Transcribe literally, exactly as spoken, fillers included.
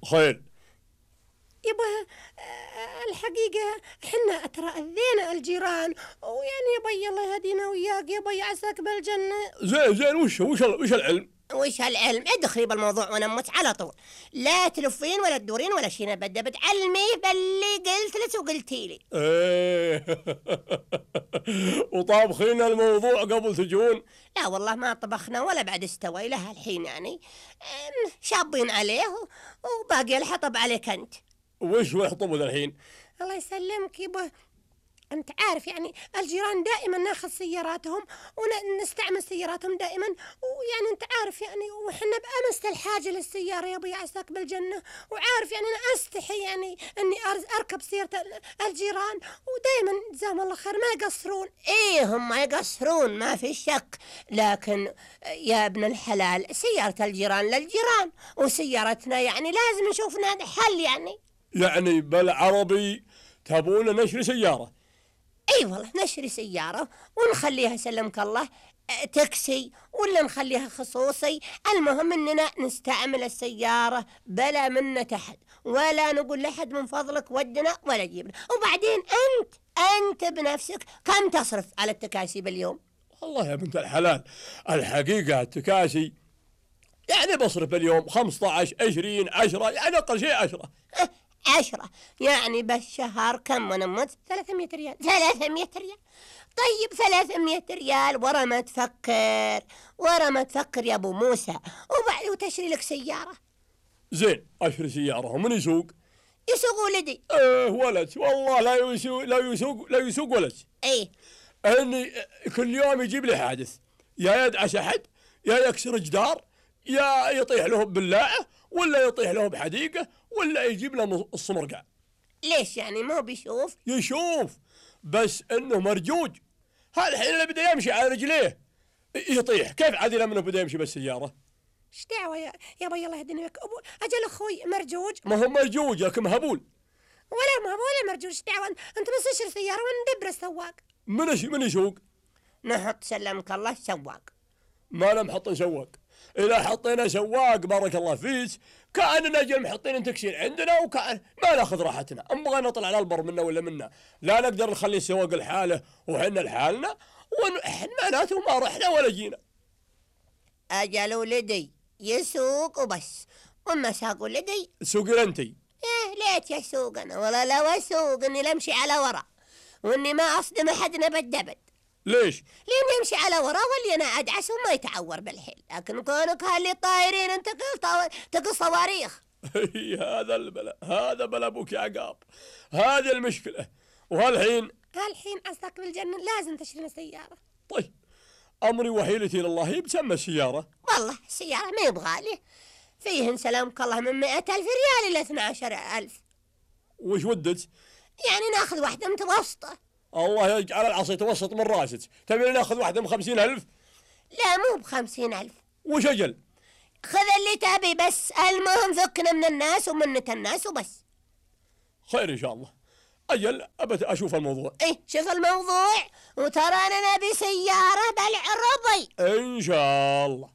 خير؟ يبا الحقيقة حنا ترى أذينا الجيران، ويعني يبا الله يهدينا وياك يبا يعساك بالجنة. زين زين وش وش وش العلم؟ وش هالعلم؟ ادخلي بالموضوع وانا اموت على طول، لا تلفين ولا تدورين ولا شي، بدي بتعلمي باللي قلت لك وقلتي لي. ايه وطابخين الموضوع قبل تجون؟ لا والله ما طبخنا ولا بعد استوى لها الحين، يعني شابين عليه وباقي الحطب عليك انت. وش ويحطبوا الحين؟ الله يسلمك يبا، أنت عارف يعني الجيران دائما ناخذ سياراتهم ونستعمل سياراتهم دائما، ويعني أنت عارف يعني وحنا بأمس الحاجة للسيارة يا أبوي عساك بالجنة، وعارف يعني أنا أستحي يعني أني أركب سيارة الجيران، ودائما جزاهم الله خير ما يقصرون. إيه هم ما يقصرون ما في شك، لكن يا ابن الحلال سيارة الجيران للجيران، وسيارتنا يعني لازم نشوف لنا حل. يعني يعني بالعربي تبون نشري سيارة؟ اي أيوة والله نشري سيارة ونخليها سلمك الله تاكسي ولا نخليها خصوصي، المهم اننا نستعمل السيارة بلا منة احد، ولا نقول لحد من فضلك ودنا ولا جيبنا. وبعدين انت انت بنفسك كم تصرف على التكاسي باليوم؟ والله يا بنت الحلال الحقيقة التكاسي يعني بصرف باليوم خمسة عشر عشرين عشرة، يعني اقل شيء عشرة. عشرة يعني بالشهر كم ونمت؟ ثلاثمية ريال. ثلاثمية ريال طيب ثلاثمية ريال ورا ما تفكر، ورا ما تفكر يا ابو موسى، وبعد وتشري لك سيارة. زين اشتري سيارة ومن يسوق؟ يسوق ولدي. ايه ولد والله لا يسوق لا يسوق لا يسوق ولد. ايه اني كل يوم يجيب لي حادث، يا يدعس احد يا يكسر جدار يا يطيح له ببلاعه ولا يطيح له بحديقة ولا يجيب له الصمرقع. ليش يعني ما بيشوف؟ يشوف بس انه مرجوج، هالحين اللي بده يمشي على رجليه يطيح، كيف عادي لما بده يمشي بالسيارة؟ ايش دعوة يا يا بي الله يهديني بك، ابو اجل اخوي مرجوج. ما هو مرجوج لكن مهبول. ولا مهبول ولا مرجوج، ايش دعوة انت بس اشتري سيارة وندبر السواق. من من يسوق؟ نحط سلمك الله سواق. ما لم نحط سواق، إذا حطينا سواق بارك الله فيك كأننا جل محطين تكسير عندنا وكأن ما ناخذ راحتنا، نبغى نطلع على البر منا ولا منا، لا نقدر نخلي السواق لحاله وحنا لحالنا ونحن معناته ما رحنا ولا جينا. أجل ولدي يسوق وبس، وما ساق ولدي سوقي انتي. ايه ليت يسوق انا، ولا لو اسوق اني لمشي على ورا واني ما اصدم احدنا بالدبد. ليش؟ لين يمشي على ورا واللي انا ادعس وما يتعور بالحيل، لكن كونك هاللي طايرين انت تقل تقل صواريخ. هذا البلاء، هذا بلا ابوك يا عقاب، هذه المشكلة. وهالحين هالحين عساك بالجنة لازم تشتري سيارة. طيب امري وحيلتي لله بسمى السيارة. والله السيارة ما يبغى لي، فيهن سلامك الله من مئة ألف ريال إلى اثنى عشر ألف. وش ودت؟ يعني ناخذ واحدة متوسطة. الله يجعل العصا يتوسط من راسك، تبي ناخذ واحدة من خمسين ألف؟ لا مو بخمسين ألف. وش أجل؟ خذ اللي تبي بس المهم فكنا من الناس ومنة الناس وبس. خير إن شاء الله. أجل أبت أشوف الموضوع. إيه شوف الموضوع، وترى أنا نبي سيارة بالعربي إن شاء الله.